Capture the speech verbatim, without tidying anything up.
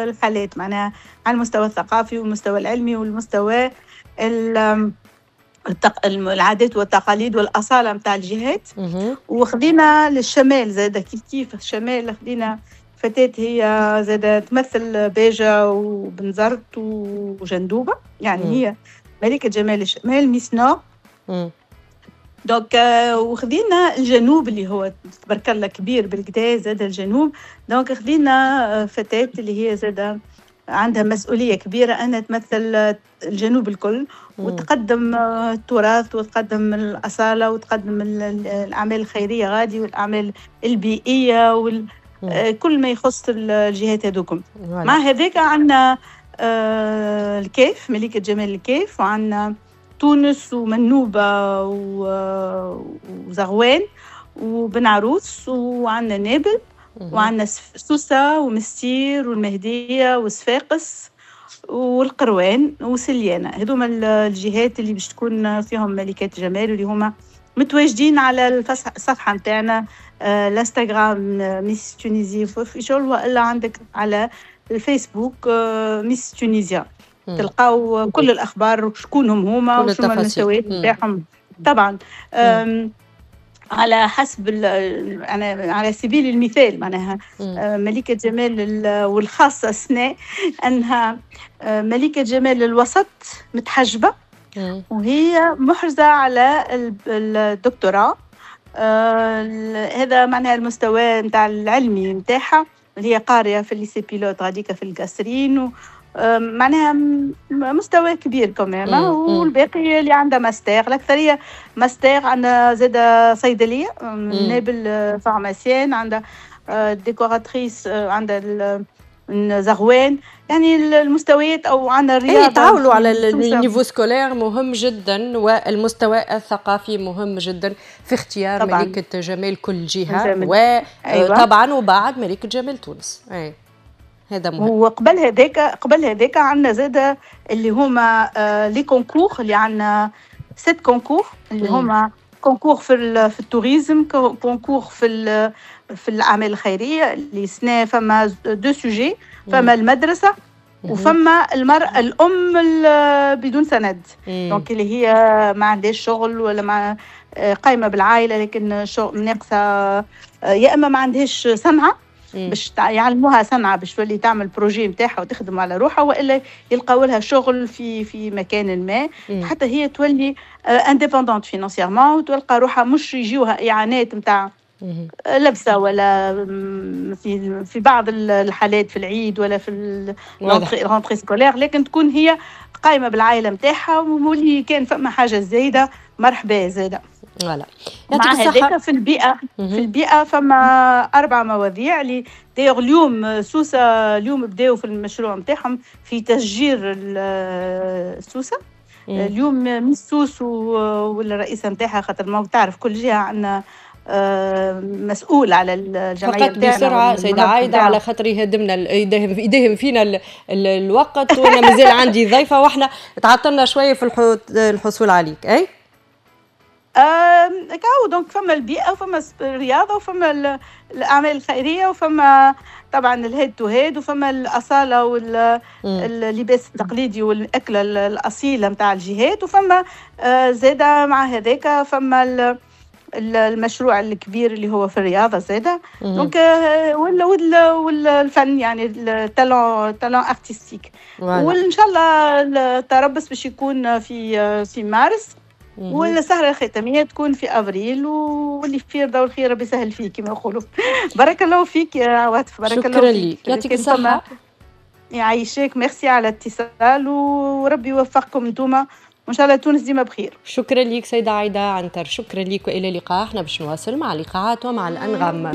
الحالات، معناها على المستوى الثقافي والمستوى العلمي والمستوى التق... العادات والتقاليد والاصاله نتاع الجهات. وخذينا للشمال زاد كيف كيف، الشمال خذينا فتاة هي زاد تمثل باجة وبنزرت وجندوبة، يعني مم. هي ملكة جمال الشمال Miss Nord. donc وخذينا الجنوب اللي هو تبارك الله كبير بالكدا زاد الجنوب، donc خذينا فتاة اللي هي زاد عندها مسؤولية كبيرة أنها تمثل الجنوب الكل وتقدم التراث وتقدم الأصالة وتقدم الأعمال الخيرية غادي والأعمال البيئية وال كل ما يخص الجهات هذوكم. مع هذاك عندنا الكاف، ملكة جمال الكاف، وعندنا تونس ومنوبة وزغوان وبن عروس، وعندنا نابل، وعندنا سوسة ومستير والمهدية وصفاقس والقروان وسليانة. هذوما الجهات اللي باش تكون فيهم ملكات جمال، واللي هما متواجدين على الصفحة نتاعنا الانستغرام Miss Tunisie Official، والا عندك على الفيسبوك Miss Tunisia، تلقاو كل الاخبار وشكونهم هما وشنو المستويات نتاعهم. طبعا على حسب أنا على سبيل المثال معناها ملكة جمال والخاصة سنة أنها ملكة جمال الوسط متحجبة وهي محرزة على الدكتوراه، هذا معناها المستوى نتاع العلمي نتاعها، اللي هي قارية في ال lycée pilote غاديكا في القصرين، معناها مستوى كبير كمان. والباقي اللي عندها ماستر، الاكثرية ماستر. عندها زاده صيدلية نابل pharmacienne، عندها décoratrice، عندها زغوان، يعني المستويات او عندنا الرياضه. اي تعاولوا على ال niveau scolaire مهم جدا، والمستوى الثقافي مهم جدا في اختيار طبعاً ملكه جمال كل جهه، وطبعا أيوة. وبعد ملكه جمال تونس، اي هذا مهم. وقبل هذاك قبل هذاك عندنا زاد اللي هما آه les concours، اللي عندنا sept concours، اللي هما concours في في ال tourisme، concours في في الاعمال الخيريه. اللي سنة فما deux sujets، فما المدرسة وفما المرأة الأم بدون سند، donc اللي هي ما عندهاش شغل ولا ما قايمة بالعائلة لكن شغل ناقصة، يا إما ما عندهاش صنعة باش يعلموها صنعة باش تولي تعمل projet نتاعها وتخدم على روحها، والا يلقاو لها شغل في في مكان ما حتى هي تولي indépendante financièrement وتلقى روحها، مش يجيوها اعانات نتاع لبسه ولا في في بعض الحالات في العيد ولا في ال rentrée scolaire، لكن تكون هي قايمة بالعائلة نتاعها، واللي كان فما حاجة زايدة مرحبا زاده. voilà. مع هذاك في البيئه في البيئة فما اربع مواضيع اللي d'ailleurs اليوم سوسه، اليوم بداوا في المشروع نتاعهم في تشجير السوسه. اليوم Miss سوس والرئيسه نتاعها، خاطر ما تعرف كل جهة عندنا مسؤول على الجمعية. فقط بسرعة سيده عايدة على خاطر يهدمنا يداهم يداهم فينا ال ال الوقت، وانا مازال عندي ضيفه واحنا تعطلنا شوية في الحصول عليك. اي كاو donc فما البيئة وفما الرياضة وفما الاعمال الخيرية وفما طبعا ال head to head وفما الاصالة واللباس التقليدي والاكله الاصيلة نتاع الجهات، وفما زاده مع هذاك فما المشروع الكبير اللي هو في الرياضة زاده، donc ولا والفن، يعني ال talent talent artistique. وان شاء الله التربص باش يكون في في مارس والسهرة الختامية تكون في أفريل، واللي في رضا والخير ربي يسهل فيه كما يقولوا. بارك الله فيك يا عواطف، بارك الله شكرا لك، يعطيك الصحة. يعيشك، ميرسي على الاتصال وربي يوفقكم انتوما، وان شاء الله تونس ديما بخير. شكرا لك سيدة عايدة عنتر، شكرا لك والى اللقاء. احنا باش نواصل مع اللقاءات ومع الانغام.